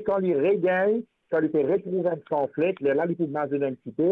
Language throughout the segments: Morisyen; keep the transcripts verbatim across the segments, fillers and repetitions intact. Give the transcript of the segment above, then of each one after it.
Kan li regagn, kan li pe retrouv enn sanflet, lerla li pou mazinn enn tipe,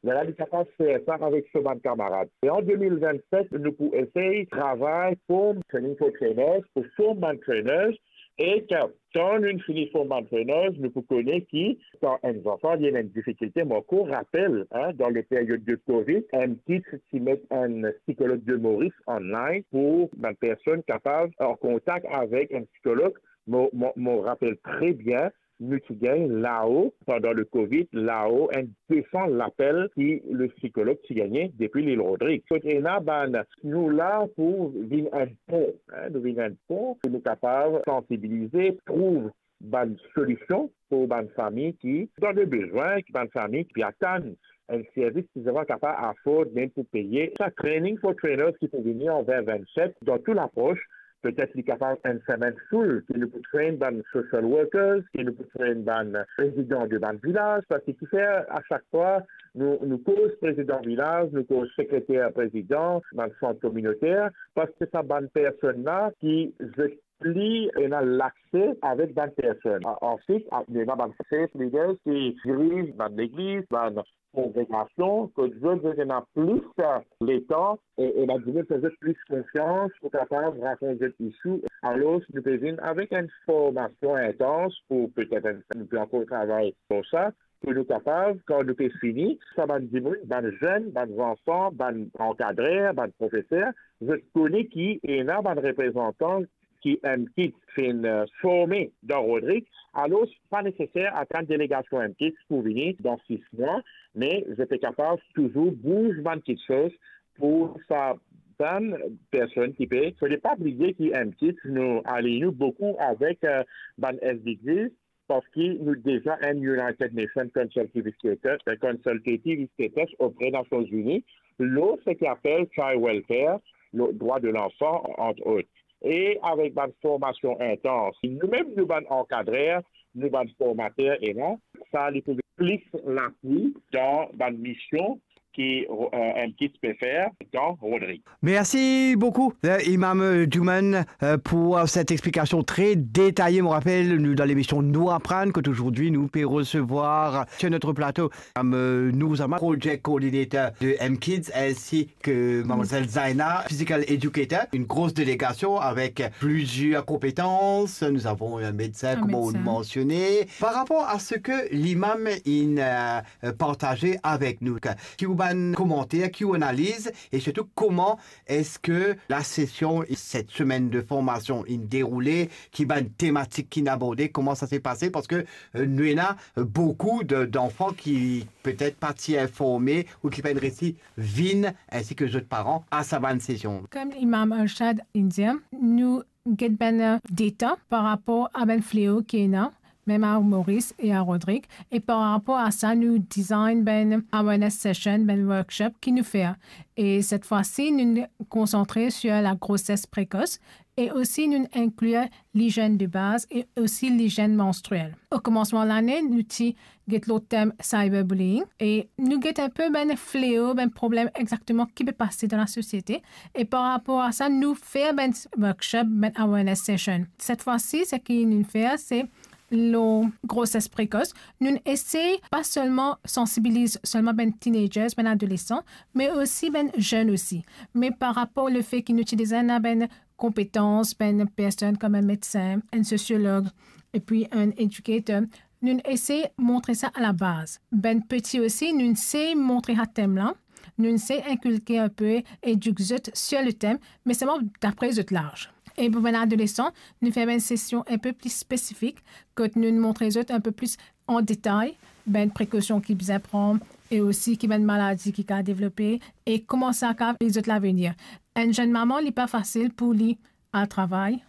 lerla li kapav fer sa avek so bann kamarad. E an de mil vennset, nou pou esey travay form training for trainers, pou form bann trainers, e kan, kan nou fini form bann trainers, nou pou kone ki, kan enn zanfan li ena enn difikilte, mo ankor rapel, hein, dan le peryod de Covid, MKids ti met enn psikolog de Moris online pou bann personn kapav an kontak avek enn psikolog. Mo, mo, mo rapel tre bien, nou ti gagn lao, pandan le Covid, lao enn de san lapel ki le psikolog ti gagne depi Lil Rodrig. Kot ena bann, nou la pou vinn enn pon, hein, nou vinn enn pon, pou nou kapav sansibilize, trouv bann solision pou bann fami ki dan le bezwin, ki bann fami ki pe atann enn servis ki zot pa kapav afford mem pou peye. Sa training for trainers ki pou vini an vin vennset, dan tou lapros, petet li kapav enn semenn full, ki nou pou train bann social workers, ki nou pou train bann prezidan de bann vilaz, parski kifer a sak fwa nou, nou koz prezidan vilaz, nou koz sekreter prezidan, bann sant kominoter, parski sa bann personn la ki zot pli ena lakse avek bann personn. A-, answit, a-, ena bann faith leaders ki diriz bann legliz, bann kongregasion, kot zot, zot ena plis, eh, letan, e, e bann dimoun fer zot plis konfians pou kapav rakont zot issue. Alor, nou pe vinn avek enn formasion intans pou petet enn, nou pe ankor travay lor sa, pou nou kapav, kan nou pe fini, sa bann dimoun, bann zenn, bann zanfan, bann ankadrer, bann profeser, zot kone ki ena bann reprezantan ki MKids finn, eh, forme dan Rodrig, alor pa neseser atann delegasion MKids pou vini dan sis mwa, me zot pe kapav touzour bouz bann kiksoz pou sa bann personn ki pe. Fode pa bliye ki MKids, nou aliy nou boukou avek, eh, bann SDGs, parski nou deza enn United Nations Consultative Status, eh, Consultative Status opre Nasion Zini, lor seki apel child welfare, le droit de l'enfant, entre autres. E avek bann formasion intans, nou mem nou bann ankadrer, nou bann formater ena, sa li pou plis lapui dan bann mision ki, eh, MKids pe fer dan Rodrig. Merci beaucoup, euh, Imam, euh, Juman, euh, pour, euh, cette explication très détaillée. Je me rappelle, nous, dans l'émission Nous apprendre, qu'aujourd'hui, nous pouvons recevoir sur notre plateau, euh, Nour Zama, project coordinator de MKids, ainsi que mademoiselle Zaina, physical educator, une grosse délégation avec plusieurs compétences. Nous avons un médecin, comme on mentionnait. Par rapport à ce que l'imam, il, euh, euh, partager avec nous. Ki ou bann komanter, ki ou analiz, e sirtou koman eski la sesion, cette semaine de formation, inn deroule, ki bann tematik ki inn aborde, koman sa se pase, parski, euh, nou ena, euh, boukou de, danfan ki petet pa ti informe ou ki pa'nn resi vinn, ainsi que zot paran, a sa bann sesion. Kom Imam Arshad inn dir, nou get bann, euh, data par rapor a bann fleo ki ena, mem a Moris e a Rodrig. E par rapor a sa, nou design bann awareness session, bann workshop ki nou fer. E set fwa si, nou konsantre sur la grossesse précoce e osi nou inklir lizenn de baz e osi lizenn manstriel. O komansman lane, nou ti get lor tem cyberbullying e nou get inpe bann fleo, bann problem exakteman ki pe pase dan lasosiete. E par rapor a sa, nou fer bann workshop, bann awareness session. Set fwa si, seki nou fer, se lor grossesse précoce. Nou esey pa selman sansibiliz selman bann teenagers, bann adolesan, me osi bann zenn osi. Me par rapor lefe ki nou ti deza ena bann konpetans, bann personn kom enn medsin, enn sosiolog, epi enn educator, nou esey montre sa a la baz. Bann peti osi, nou esey montre sa tem la, nou esey inkilke inpe, edik zot sur le tem, me selman dapre zot laz. E pou bann adolesan, nou fer bann sesion inpe pli spesifik, kot nou montre zot inpe pli an detay bann prekosion ki bizin pran, e osi ki bann maladi ki kapav devlope, e kouma sa kapav afekte zot lavenir. Enn zenn mama, li pa fasil pou li al travay,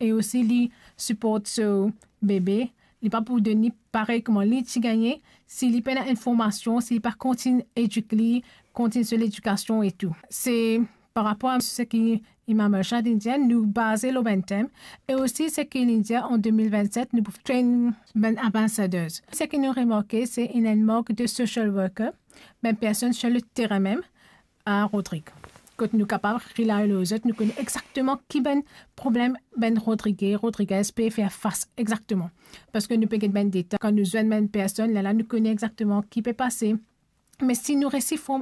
e osi li siport so bebe, li pa pou donn li parey kouma li ti gagne, si li pena enn formasion, si li pa kontign edik li, kontign so ledikasion e tou. Se par rapor a seki Imam Arshad inn dir, nou baze lor bann tem, e osi seki inn dir an de mil vennset, nou pou train bann ambassadeurs. Seki nou remarke, se ena enn mank de social worker, bann personn sur le terrain mem, a Rodrig. Kot nou kapav relay lor zot, nou kone exakteman ki bann problem bann Rodrige, Rodriguez pe fer fas exakteman. Parski nou pe get bann deta, kan nou zwenn bann personn, lerla nou kone exakteman ki pe pase. Me si nou resi form